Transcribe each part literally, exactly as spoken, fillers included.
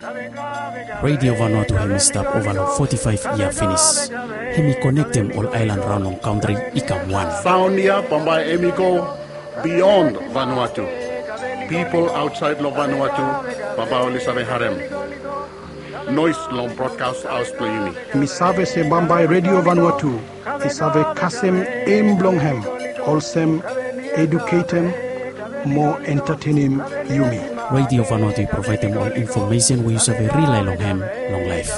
Radio Vanuatu hemi stap ova long forty-five yia finis. Hemi konektem ol aelan raon long kantri i kam wan. Saon ya bambae hemi go beyond Vanuatu. Pipol aotsaed long Vanuatu bambae oli save harem noes long brodkas haos blong yumi. Mi save se bambae Radio Vanuatu i save kasem em blong hem olsem eduketem mo entatenem yumi. Radio Vanuatu i provaedem ol infomesen we yu save rilae long hem long laef.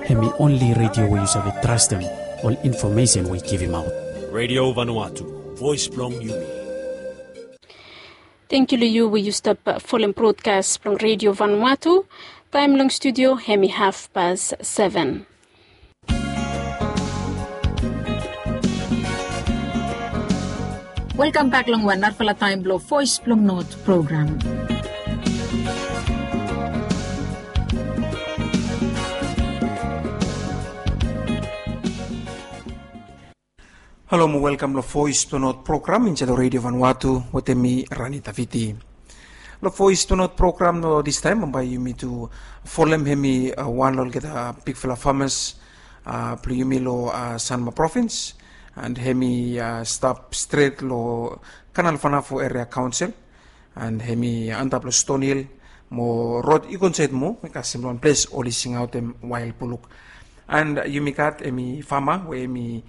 Hemi onli radio we yu save trastem ol infomesen we i givimaot. Radio Vanuatu, voes blong yumi. Tenkyu long yu we yu stap folem brodkas blong Radio Vanuatu. Taem long studio hemi hafpas seven. Welkam bak long wan narafala taem blong Voes blong Not program. Halo mo welkam long Voes blong Not program insaed long Radio Vanuatu wetem mi Rani Taviti. Long Voes blong Not program long distaem bambae yumi tu folem hemi wan long olgeta bigfala famas blong yumi long Sanma provins. And hemi stap stret long Kanal Vanafo Eria Kaonsel. And hemi antap long Stonhill mo rod i go insaed moa i kasem long wan ples oli singaotem wael buluk. And yumi gat hemi fama we hemi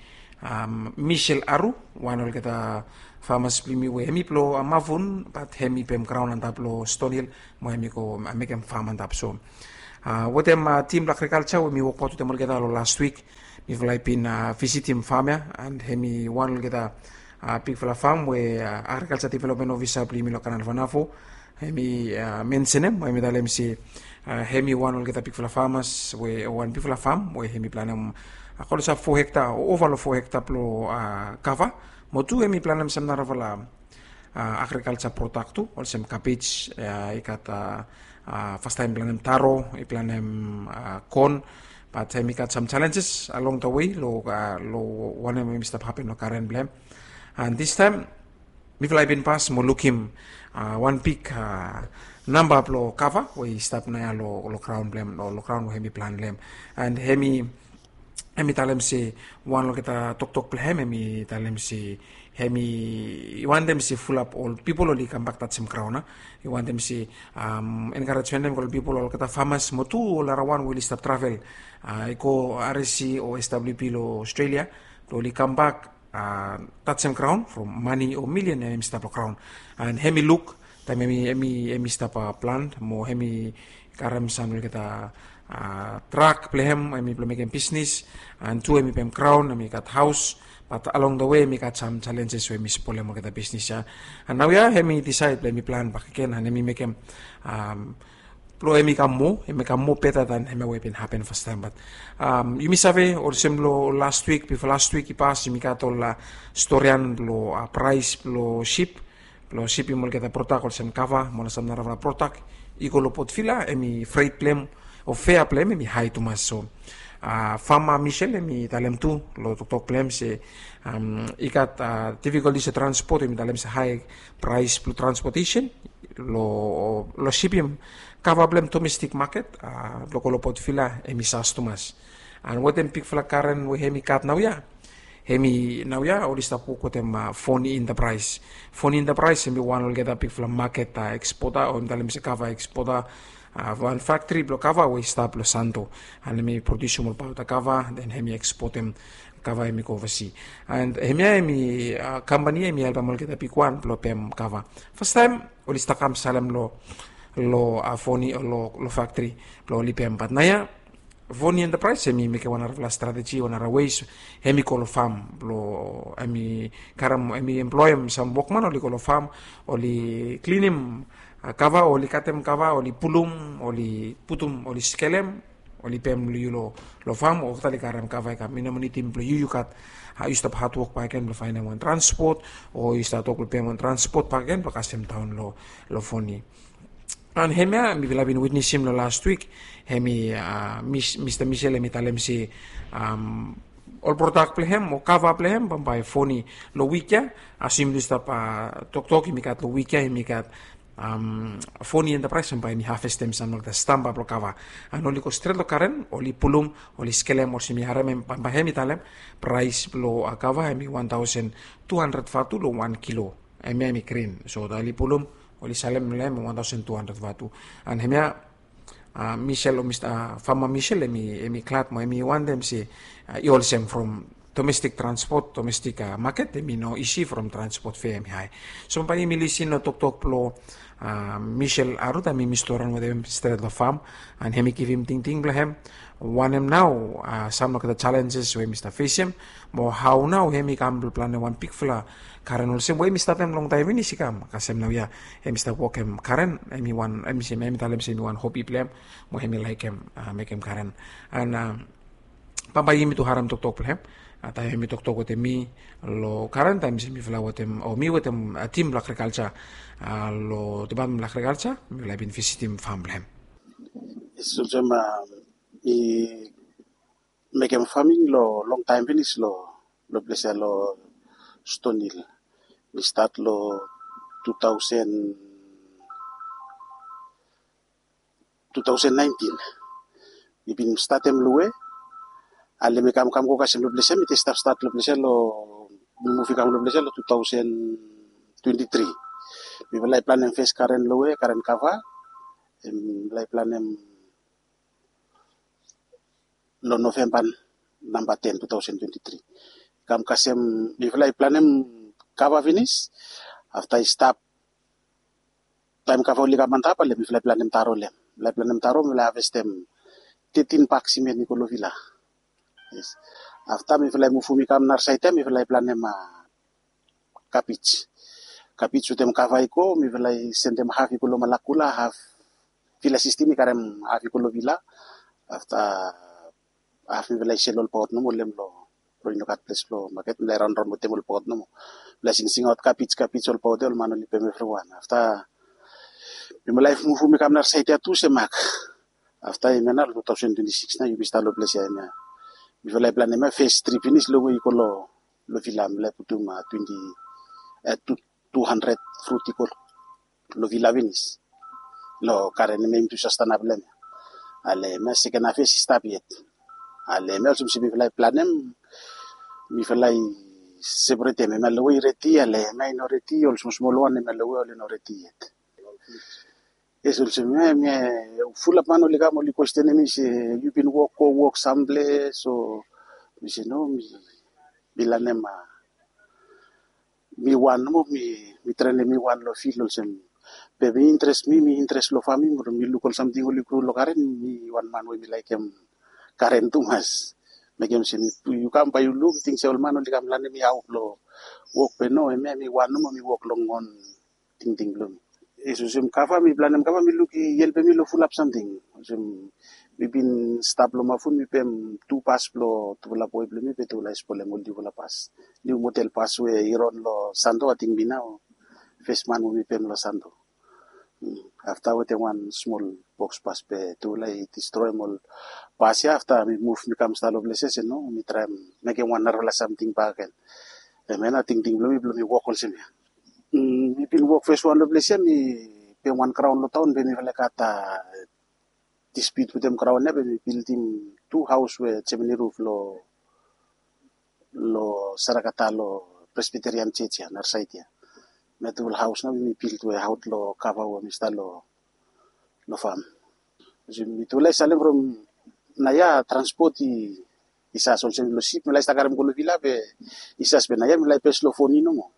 Michel Aru, wan olgeta famas blong yumi we hemi blong Mavun bat hemi pem graon antap long Stonhill mo hemi go mekem fam antap. So wetem tim blong agrikalja we mi wokbaot wetem olgeta long las wik, mifala i bin visitim fam ya and hemi wan olgeta bigfala fam we agrikalja developmen ofisa blong yumi long Kanal Vanafo hemi mensenem mo hemi talem se hemi wan olgeta bigfala famas we wan bigfala fam we hemi planem klosap fo hekta o ova long fo hekta blong kava mo tu hemi planem sam narafala agrikalja prodak tu olsem kabej, i gat fastaem i planem taro, i planem kon. Bat hemi gat sam jalenjes along da wei long wanem hemi stap hapen long garen blong hem. And distaem mifala i bin pas mo lukim wan big namba blong kava we i stap naoia long graon blong hem o long graon we hemi plan long hem. And hemi hemi talem se wan olgeta toktok blong hem hemi talem se hemi wantem se fulap ol pipol oli kambak tajem graon. I wantem se enkarej wantem ol pipol olgeta famas mo tu ol narawan we oli stap travel i go R S C o S W P long Australia blong oli kambak tajem graon from mane o milian hemi stap long graon. And hemi luk taem hemi hemi hemi stap plan mo hemi karem sam olgeta trak blong hem hemi blong mekem bisnis. And tu hemi pem graon hemi gat haos bat along da wei hemi gat sam jalenjes we hemi spolem olgeta bisnis ya. And naoia hemi disaed blong hemi plan bakegen and hemi mekem blong hemi kam moa hemi kam moa beta dan hemia we i bin hapen fastaem. Bat yumi save olsem long las wik bifo las wik i pas yumi gat ol storian blong praes blong sip blong sipim olgeta prodak olsem kava mo ol sam narafala prodak i go long Port Vila hemi fret blong hem o fea blong hem hemi hae tumas. So fama Michel hemi talem tu long toktok blong hem se i gat difikoltis long transpot hemi talem se hae praes blong transpotesen long sipim kava blong hem domestik maket blong go long Port Vila hemi sas tumas. And wetem bigfala garen we hemi gat naoia hemi naoia oli stap wok wetem Foni Enterprise. Foni Enterprise hemi wan olgeta bigfala maket ekspota o hemi talem se kava ekspota. Wan faktri blong kava we i stap long Santo and hemi prodiusim ol paota kava den hemi ekspotem kava hemi go ovasi. And hemia hemi kampani hemi helpem olgeta bigwan blong pem kava. Fastaem oli stap kam salem long long Foni o long faktri blong oli pem bat naoia Foni Enterprise hemi mekem wan narafala strateji wan nara ways hemi go long fam blong hemi karem hemi emploem sam wokman oli go long fam oli klinim kava oli katem kava oli pulum oli putum oli skelem oli pem long yu long fam o tali karem kava i kam i no minitim blong yu yu gat yu stap hatwok bakegen blong faenem wan transpot o yu stap tok blong pem wan transpot bakegen blong kasem daon long Foni. And hemia mifala bin witnesim long last wik hemi Mista Misel hemi talem se ol prodak blong hem o kava blong hem bambae Foni long wik ya. As yumi stap toktok yumi gat long wik ya yumi gat Foni Enterprise, bae hemi havestem sam olgeta stamba blong kava. An oli go stret long Karen, oli pulum, oli skelem olsem mi harem hem, bae hemi talem praes blong kava hemi wan taosen tu handred vatu long wan kilo. Hemia hemi grin. So taem oli pulum, oli salem long hem wan taosen tu handred vatu. An hemia Michel o Mista Fama Michel, hemi glad mo hemi wantem se i olsem from domestik transpot, domestik maket, hemi no isi from transpot fea hemi hae. So bae yumi lisin long toktok blong Michel Aruta, mi mi storim wetem hem stret long fam, an hemi givim tingting blong hem wanem nao sam olgeta jalenjes we hemi stap fesem, mo hao nao hemi kam blong planem wan bigfala garen olsem we hemi statem longtaem finis i kam kasem naoia. Hemi stap wokem garen, hemi wan, hemi talem se hemi wan hobi blong hem, mo hemi laekem mekem garen. An bambae yumi tu harem toktok blong hem taem hemi toktok wetem mi long garen, taem se mifala wetem, o mi wetem tim blong agrikalja long depatmen blong agrikalja, mifala i bin visitim fam blong hem. Yes, olsem mi mekem faming long longtaem finis long ples ya long Stone Hill. Mi stat long tu taosen tu taosen naentin. Mi bin statem lowe, ale mi kamkam go kasem long ples ya, mi stap stat long ples ya long, mi muv i kam long ples ya long tu taosen twenti tri. Mifala i planem fes garen lowe, garen kava. Mifala i planem long Novemba namba ten, tu taosen twenti tri. Kam kasem, mifala i planem kava finis. Afta i stap, taem kava oli kam antap, ale mifala i planem taro long hem. Mifala i planem taro, mifala i havestem tetin bak simen i go long vila. Yes. Afta mifala i muvum i kam nara saed ya, mifala i planem kabej. Kabej wetem kava i go, mifala i sendem haf i go long Malakula, haf, vila sistem i karem haf i go long vila. Afta haf mifala i sel olbaot nomo long hem long, i no gat ples blong maket, mifala i raonraon wetem olbaot nomo. Mifala i singsingaot kabej, kabej olbaot ya, ol man oli pem evriwan. Afta mifala i muvum i kam nara saed ya tu se mak. Afta hemia nao long tu taosen twenti sikis nao yumi stat long ples ya hemia. Mifala i planem hemia fes trip finis long we i go long vila, mifala i putum twenti, tu handred frut i go long vila finis. Long garen hemia i tu sastana blong hemia. Ale hemia seken havest i stap yet. Ale hemia olsem se mifala i planem, mifala i separetem, hemia long we i redi, ale hemia i no redi, ol smosmol wan hemia long we oli no redi yet. Yes, olsem hemia, fulap man oli kam oli kwestenem mi se, yu bin wok, go wok samples? So mi se no, mi lanem mi wan nomo, mi trenem mi wan long fil olsem. Be mi interes, mi mi interes long faming, mi luk ol samting oli gro long garen, mi wan man we mi laekem garen tumas. Mekem se mi, yu kam bae yu luk, ting se ol man oli kam lanem mi hao blong wok, be no, hemia mi wan nomo mi wok long on tingting blong mi. Yes, olsem kava, mi planem kava, mi luk i helpem mi long fulap samting. Olsem mi bin stap long Mafun, mi pem tu bas blong tufala boe blong mi, be tufala i spolem ol niufala bas. Niu model bas we i ron long Santo, ating mi nao fes man we mi pem long Santo. Afta wetem wan smol boks bas, be tufala i distroem ol bas ya. Afta mi muv mi kam stap long ples ya se no, mi traem mekem wan narafala samting bakegen. Hemia nao tingting blong mi blong mi wok olsem ya. Mi bin wok fes wan long ples ya, mi pem wan graon long taon, be mifala i gat dispute wetem graon ya, be mi bildim tu haos we jemeni ruf long, long Sarakata long Presbyterian Church ya, nara saed ya. Hemia tufala haos nao be mi bild we aot long kava we mi stap long, long fam. Olsem mitufala i salem from naoia transpot i, i sas olsem long sip mifala i stap karem go long vila, be i sas, be naoia mifala i bes long foni nomo.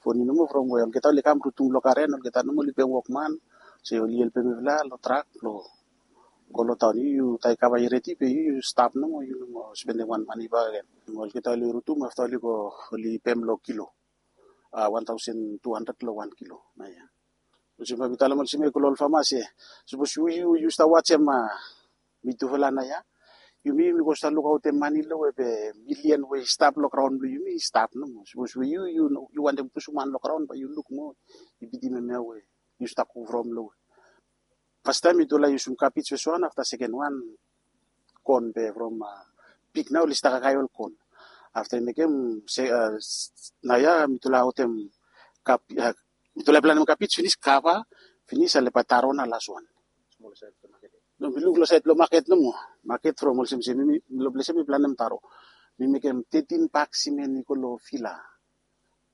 Foni nomo from we olgeta oli kam rutum long garen, olgeta nomo oli pem wokman se oli helpem mifala long trak blong go long taon. Yu, yu taem kava i redi, be yu, yu stap nomo, yu no moa spendem wan mane bakegen. Olgeta oli rutum, afta oli go, oli pem long kilo, wan taosen tu handred long wan kilo naoia. Olsem bae mi talem olsem ya i go long ol fama se, sapos yu, yu stap wajem mitufala naoia, yumi, yumi go stap lukaotem mane long we be milian we i stap long graon blong yumi i stap nomo. Sapos we yu, yu wantem pusum han long graon, bae yu luk moa, i bitim hemia we yu stap go from long we. Fastaem mitufala i yusum kabej fes wan, afta seken wan kon, be from pig nao oli stap kakae ol kon. Afta i mekem se, naoia mitufala aotem kab, Mitufala i planem kabej finis, kava finis, ale bae taro nao las wan. No, mi luk long saed blong maket nomo. Maket from olsem se mi, mi long ples ya mi planem taro. Mi mekem tetin bak simen i go long fila.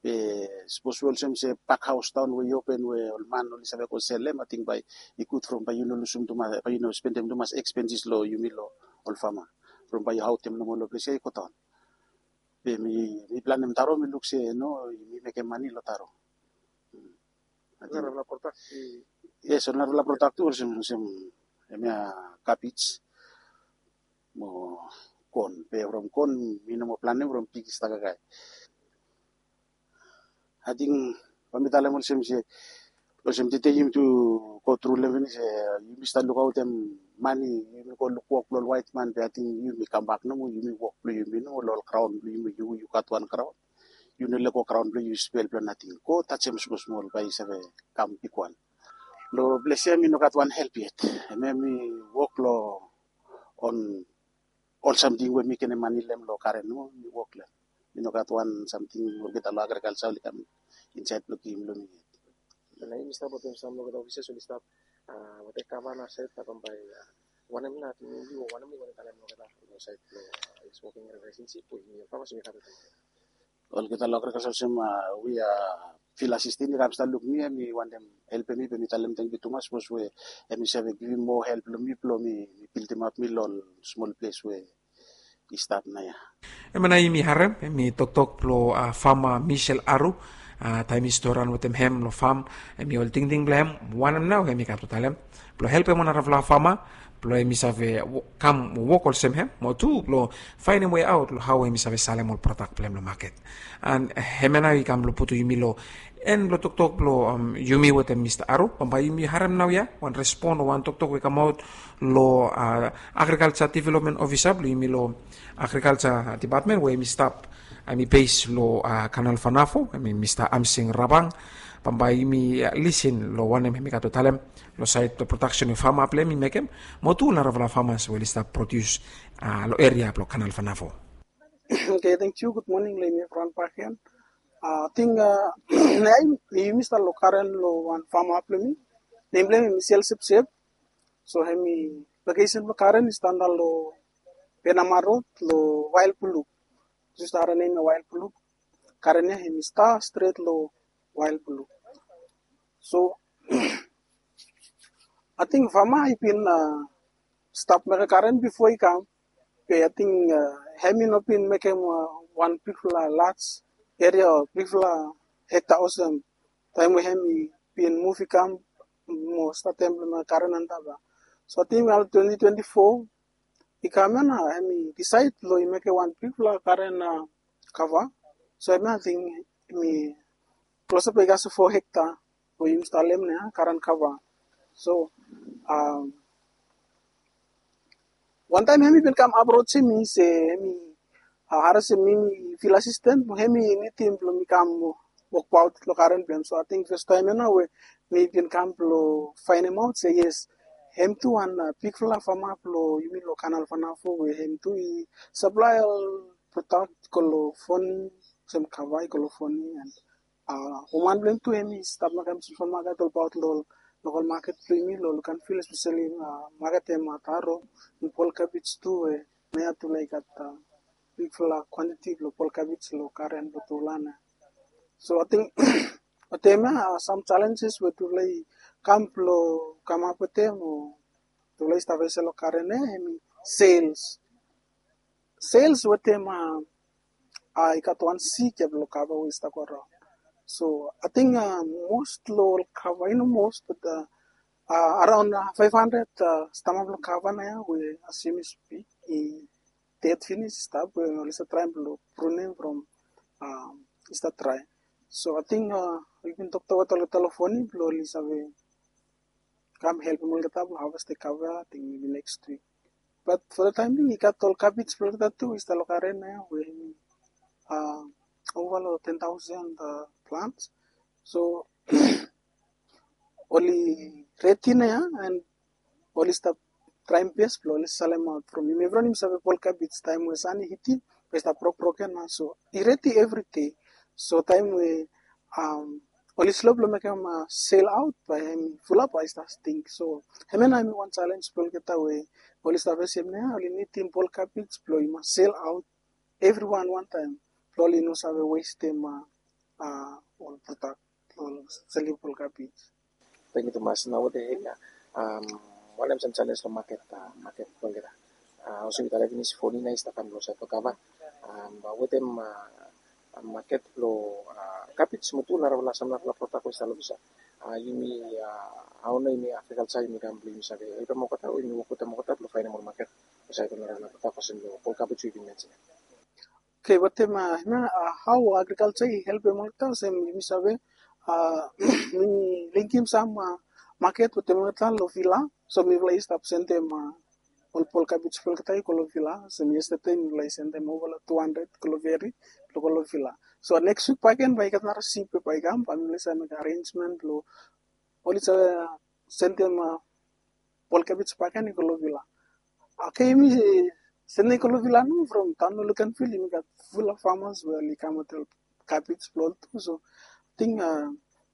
Be sapos we olsem se bak haos daon we i open we ol man oli save go selem, ating bae i gud from bae yu no lusum tumas, bae yu no spendem tumas expenses long yumi long ol fama. From bae yu haotem nomo long ples ya i go daon. Be mi, mi planem taro, mi luk se no, mi mekem mane long taro. Narafala prodak i... Yes, ol narafala prodak tu olsem, olsem hemia kabej mo kon. Be from kon mi no moa planem from pig i stap kakae. Ating bae mi talem olsem se, olsem tede yumi tu go tru long hem finis, yumi stap lukaotem mane, yumi go luk wok blong ol waet man, be ating yumi kambak nomo, yumi wok blong yumi nomo long ol graon blong yumi, yu, yu gat wan graon. Yu no lego graon blong yu spel blong nating. Go tajem smol smol bae i save kam bigwan. Long ples ya mi no gat wan help yet. Hemia mi wok long on ol samting we mi ken manem long karen nomo, mi wok long hem. Mi no gat wan samting olgeta long agrikalsa oli kam insaed blong givim long mi yet. Na yumi stap wetem sam olgeta ofisas oli stap, a, wetem gavana saed, a, bambae, a, wanem nao ating yumi o wanem nao i wantem talem long olgeta long saed blong, a, is woking relationship we yumi famas yumi gat wetem olgeta long agrikalsa olsem, a, we, a, fil asistan i kam stap luk mi, hemi wantem helpem mi, be mi talem tangkiu tumas sapos we hemi save givim moa help long mi blong mi, mi bildimap mi long ol smol ples we i stap naoia. Hemia nao yumi harem hemi toktok blong, a, fama Michel Aru, a, taem mi storan wetem hem long fam, hemi ol tingting blong hem wanem nao hemi kam tu talem blong helpem ol narafala fama blong hemi save wo-, kam wok olsem hem, mo tu blong faenem wei aot long hao hemi save salem ol prodak blong hem long maket. An hemia nao i kam blong putum yumi long en blong toktok blong, am, yumi wetem Mista Aru. Bambae yumi harem naoia wan respon o wan toktok we i kamaot long, a, agrikalsa developmen ofisa blong yumi long agrikalsa depatmen we hemi stap, hemi bes long, a, Kanal Fanafo, hemi Mista Amsing Rabang. Bambae yumi, a, lisin long wanem hemi gat blong talem long saed blong prodaksen we fama blong hem i mekem, mo tu narafala famas we oli stap prodius, a, long eria blong Kanal Fanafo. Oke, tangkiu. Gud moning long yumi evriwan bakegen. A, ating, a, naoia yumi stap long karen long wan fama blong mi. Nem blong hem hemi Sel Sepsep. So hemi lokesen blong karen i stap nao long Penama Rod long Wael Bulu. Just harem nem ya Wael Bulu. Karen ya hemi stap stret long Wael Bulu. So ating fama i bin, a, stap mekem karen bifo i kam. Be ating, a, hemi no bin mekem, a, wan bigfala laj eria o bigfala hekta olsem taem we hemi bin muv i kam mo statem blong mekem karen antap ya. So ating long twenti twenti fo i kam ya nao hemi disaed blong i mekem wan bigfala karen, a, kava. So hemia ating hemi klosap i gat fo hekta we yumi stap talem nao ya karen kava. So, am, wantaem hemi bin kam aprojem mi se hemi, a, harem se mi, mi fil asisten, hemi nidim blong mi kam wokbaot long karen blong hem. So ating fastaem ya nao we mi bin kam blong faenemaot se yes, hem tu wan, a, bigfala fama blong yumi long Kanal Fanafo we hem tu i saplae ol prodak i go long Foni, olsem kava i go long Foni, an, a, woman blong hem tu hemi stap mekem supamaket olbaot long lokal maket blong yumi long Luganville, espeseli, a, maketem, a, taro, an pol kabej tu we naoia tufala i gat, a, bigfala kwantiti blong pol kabej long karen blong tufala nao. So ating wetem ya, a, sam jalenjes we tufala i kam blong kamap wetem o tufala i stap fes long karen ya hemi sels. Sels wetem, a, a, i gat wan sikep long kava we i stap go raon. So ating, a, mos long ol kava, i no mos, bat, a, a, araon, a, faef handred, a, stama blong kava naoia we as yumi spik i ded finis i stap we oli stap traem blong prunem from, a, i stap drae. So ating, a, yu ken toktok wetem olgeta long Foni blong oli save kam helpem olgeta blong havestem kava, ating mebi next wik. Bat fo the time being i gat ol kabej blong olgeta tu i stap long karen ya we hemi, a, ova long ten taosen, a, plants. So oli redi naoia, an oli stap traem bes blong oli salemaot from yumi. Evriwan yumi save pol kabej taem we san i hitim bae i stap brokbrok ya nao. So i redi evri dei. So taem we, am, oli slo blong mekem sel aut, bae hem i fulap bae i stap stink. So hemia nao hem i wan jalenj blong olgeta we oli stap fesem nao, oli nidim pol kabej blong i mas sel aut. Evriwan wantaem blong oli no save westem ol prodak, ol selim pol kabej. Tangkiu tumas. Nao wetem hemia, wanem sam jalenj long maket, maket blong olgeta? Olsem mi talem finis, fo nina i stap kam long saed blong kava. Wetem maket blong kabej mo tu narafala, sam narafala prodak we i stap long ples ia, yumi, hao nao yumi agrikalja yumi kam blong yumi save helpem olgeta o yumi wok wetem olgeta blong faenem ol maket long saed blong narafala prodak olsem long pol kabej we yumi mensenem? Oke, wetem hemia, hao agrikalja i helpem olgeta olsem yumi save, mi linkim sam maket wetem olgeta long vila. So mifala i stap sendem ol pol kabej blong olgeta i go long vila. Olsem yestede mifala i sendem ova long tu handred go long Veri blong go long vila. So neks wik bakegen bae i gat nara sip we bae i kam, bae mifala i save mekem arenjmen blong oli save sendem pol kabej bakegen i go long vila. Oke, yumi sendem i go long vila nao from taon long Luganville, yumi gat fulap famas we oli kam wetem ol kabej blong ol tu. So ating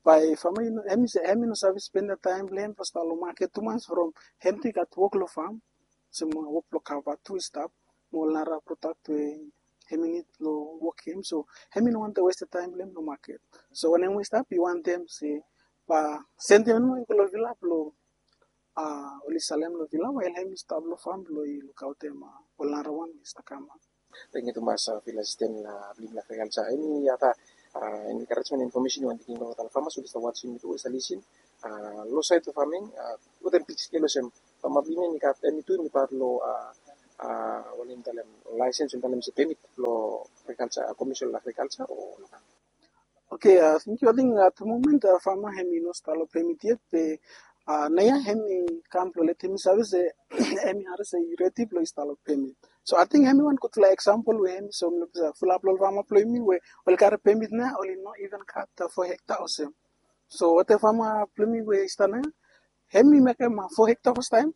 bae fama hem i no save spendem taem blong hem blong stap long maket tumas from hem tu i gat wok long fam, olsem wok blong kava tu i stap, mo ol nara prodak we hem i nid blong wokem. So hem i no wantem westem taem blong hem long maket. So wanem we i stap i wantem se bae sendem nao i go long vila blong oli salem long vila, wael hem i stap long fam blong i lukaotem ol nara wan we i stap kam. Tangkiu tumas, Village Assistant blong yumi long agrikalja. Eni ada, eni encouragement, information yu wantem givim long olgeta famas we oli stap wasem yumi tu, oli stap lisin long saed blong faming, wetem big scale olsem fama blong yumi hem i gat, hem i tu hem i pat long, wanem talem, laesens, wanem talem se pemit blong agrikalja, Komison long Agrikalja o nogat? Oke, tangkiu. Ating at the moment fama hem i no stap long pemit yet, be naoia hem i kam blong letem mi save se hem i harim se i redi blong i stap long pemit. So ating hem i wan gudfala eksampol we hem i soem long ples ia fulap long ol fama blong yumi we oli karem pemit nao oli no iven gat fo hekta olsem. So wetem fama blong yumi we i stap naoia, hem i mekem fo hekta fastaem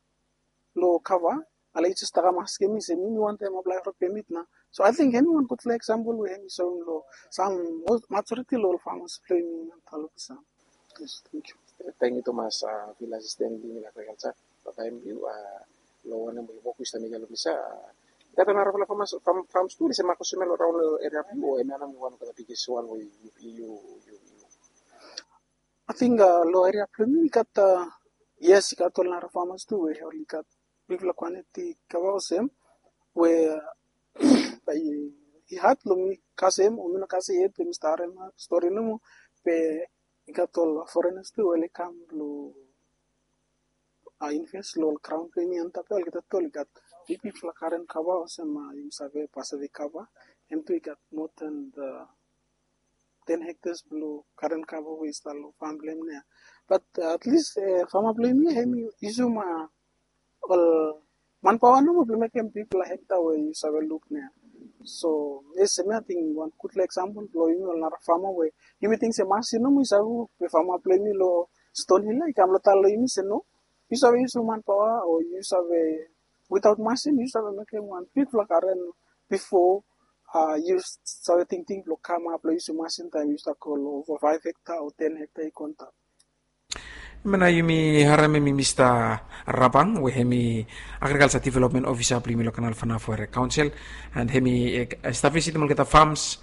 long kava, ale i jes stap kam askem mi se mi mi wantem aplae fo pemit nao. So ating hem i wan gudfala eksampol we hem i soem long sam, majoriti long ol famas blong yumi long taon long ples ia. Yes, tangkiu. Tangkiu tumas, Village Assistant blong yumi long agrikalja, long taem blong yu, long wanem we wok we yu stap mekem long ples ia. Gat narafala famas, fam, fams tu oli save maket olsem ia long raon long eria blong yu, o hemia nao hem i wan olgeta biggest wan we yu, yu, yu, yu Ating long eria blong mi i gat, yes, i gat ol nara famas tu we oli gat bigfala kwantiti kava olsem we bae i had long mi kasem o mi no kasem yet, be mi stap harem stori nomo, be i gat ol forenas tu we oli kam blong invest long ol graon blong yumi antap ia, olgeta tu oli gat bigbigfala garen kava olsem yumi save, bae save kava, hem tu i gat moa than ten hektas blong garen kava we i stap long fam blong hem nao. Bat at least fama blong yumi hem i yusum ol manpaoa nomo blong mekem bigfala hekta we yu save luk nao. So yes, hemia ating wan gudfala eksampol blong yumi ol nara fama we yumi ting se masin nomo i save wok, be fama blong yumi long Stonehills ia i kam long taon long yumi se no, yu save yusum manpaoa o yu save, witaot masin yu save mekem wan bigfala garen bifo yu save tingting blong kamap long yusum masin taem yu stap go long ova faef hekta o ten hekta i go antap. Hemia nao yumi harem hem i Mista Rabang we hem i Agriculture Development Officer blong yumi long Kanal Fanafo Area Council, and hem i stap visitim olgeta fams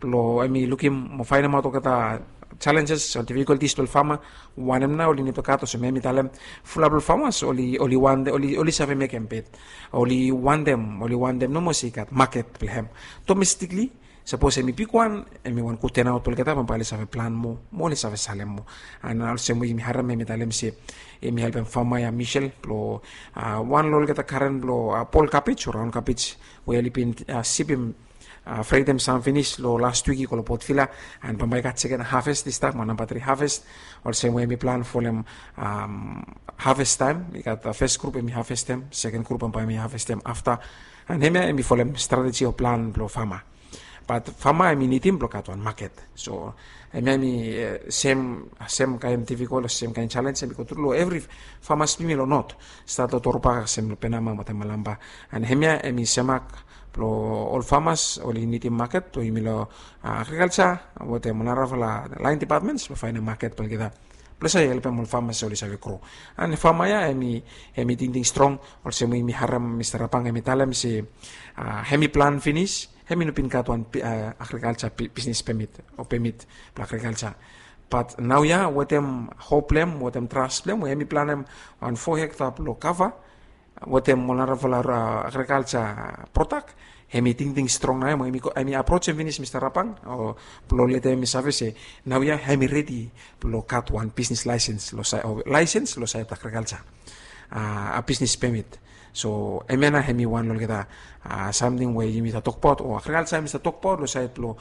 blong hem i lukim mo faenemaot olgeta challenges o difficulties blong ol fama, wanem nao oli nid blong gat. Olsem hem i talem, fulap long famas oli, oli wantem, oli, oli save mekem, be oli wantem, oli wantem nomo se i gat maket blong hem. Domestically, sapos hem i bigwan, hem i wan gud turnout blong olgeta, bambae oli save plan moa mo oli save salem moa. And olsem we yumi harem hem i talem se hem i helpem fama ia Michelle blong wan long olgeta garen blong pol kabej o raon kabej we oli bin sipim, fretem sam finis long last wik i go long Port Vila, and bambae i gat seken harvest i stap, mo namba tri harvest. Olsem we hem i plan folem harvest taem, i gat fes grup hem i harvestem, seken grup bambae hem i harvestem afta. And hemia hem i folem strateji o plan blong fama. Bat fama em i nidim blong gat wan maket. So em ya em i sem sem kain difikol sem kain selens em i go tru long evri famas blong yumi long not, stat long Torba kasem long Penama wetem Malampa. And em ya em i semak blong ol famas oli nidim maket blong yumi long agrikalsa wetem ol narafala lain dipatmens blong faenem maket blong olgeta blong save helpem ol famas oli save gro. And fama ya em i em i tingting strong olsem we yumi harem Mista Rabang em i talem se em i plan finis, em i no bin gat wan agrikalsa bisnis pemit o pemit blong agrikalsa. Bat naoia wetem hop blong em wetem tras blong em we em i planem wan fo hekta blong kava wetem ol narafala agrikalsa prodak. Em i tingting strong nao em i aprosem finis Mista Rabang o blong letem em i save se naoia em i redi blong gat wan bisnis laesens long saed agrikalsa, a bisnis pemit. So em ya nao em i wan long olgeta samting we yumi save tokbaot o agrikalsa em i save tokbaot long saed blong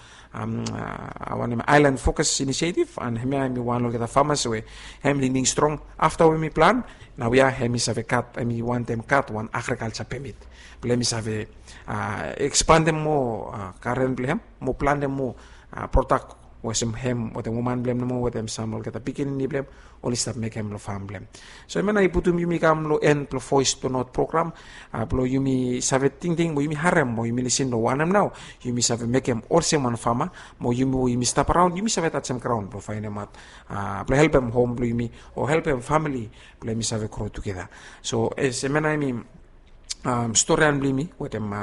wanem aelan fokas inisietiv. And em ya em i wan long olgeta famas we em i tingting strong afta we em i plan, naoia em i save gat em i wantem gat wan agrikalsa pemit blong em i save ekspandem moa garen blong em mo plantem moa prodak olsem hem wetem woman blong em nomo wetem sam olgeta pikinini blong em oli stap mekem long fam blong em. So em ya nao i putum yumi kam long en blong Voes blong Not program blong yumi save tingting mo yumi harem mo yumi lisin long wanem nao yumi save mekem olsem wan fama mo yumi we yumi stap araon yumi save tajem graon blong faenemaot blong helpem hom blong yumi o helpem famili blong yumi save gro tugeta. So em ya nao em i storian blong yumi wetem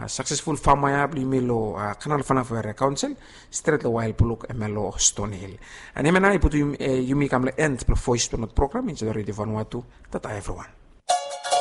saksesful fama ya blong yumi long Kanal Fanafo Eria Kaonsel stret long wael blok em ya long Stonehil. And em ya nao i putum yumi kam long en blong Voes blong Not program insait long Redio Vanuatu. Tata evriwan.